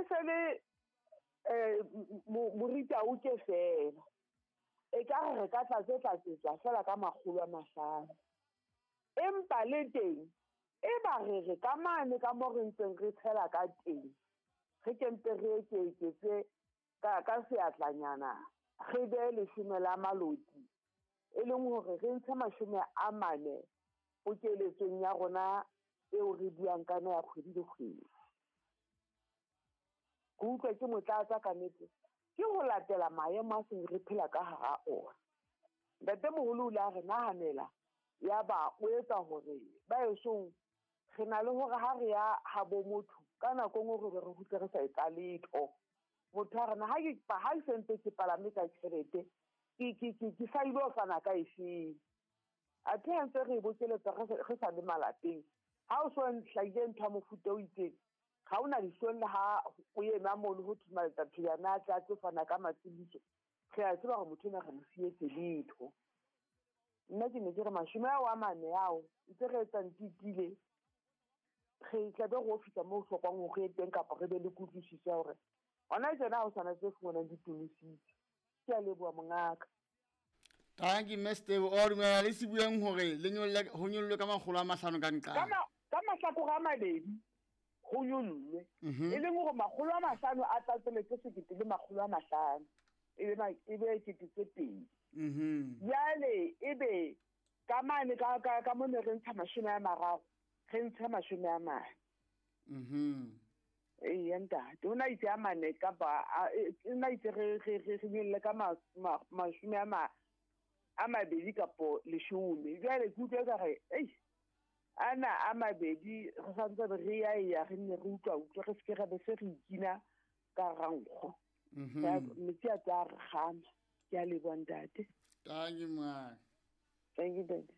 E se le morita o ke fela. E ka re ka tlatsetswa fela ka 500. Empa le teng e ba re re ka mane ka mo re ntseng re tshela ka teng, re ke mpe re eketse ka seatlanyana, re be 10 la maloti, e leng hore re ntshe 40 pokeletsong ya rona eo re buang ka yona ya kgwedi le kgwedi. Ke utlwa ke motlatsa ka nnete, ke ho latela maemo a seng re phela ka hara ona. Ntatemoholo o ile a re nahanela, ya ba o etsa hore ba esong re na le hore ha re ya habo motho ka nako e nngwe re be re kgutle re sa etsa letho. Motho a re na ha ke sentse ke palame ka tjhelete, ke sa ilo fana ka efeng. Athe ha ntse re e bokeletsa re sa le malapeng, ha o so hlahile ntho ya mofuta o itseng, ha o na dihlong le ha o ema mono ho thwe Maletsathojana a tle a tlo fana ka matshediso, re a tseba hore motho enwa re mo sietse letho. Nna ke ne ke re 40 ao ntse re etsang titile, re tla be re o fihla moo ho hlokwang hore re ye teng, kapa re be le kutlwisiso ya hore hona tjena ha ho sana tse fumanang di tonositse. Ke a leboha mongaka. Thank you, Mr. O dumela le se bueng hore le nyolle, ho nyollwe ka 500 ka nqa. Ka mahlakore a mabedi ho nyollwe. E leng hore 500 a tlatseletse 1500, e be 2000. Jwale e be ka mane ka mo ne re ntsha 30, re ntsha 40. Ee, ntate, o na itse a mane kapa o na itse re nyolle ka 20 kapo 10. Jwale ke utlwa ka re, ei, ana a mabedi re santse re ya ya re nne re utlwa utlwa re seke ra be se re ikina ka rankgo. Metsi a tla re kgama. Ke a leboha ntate. Thank you, ma. Thank you, ntate.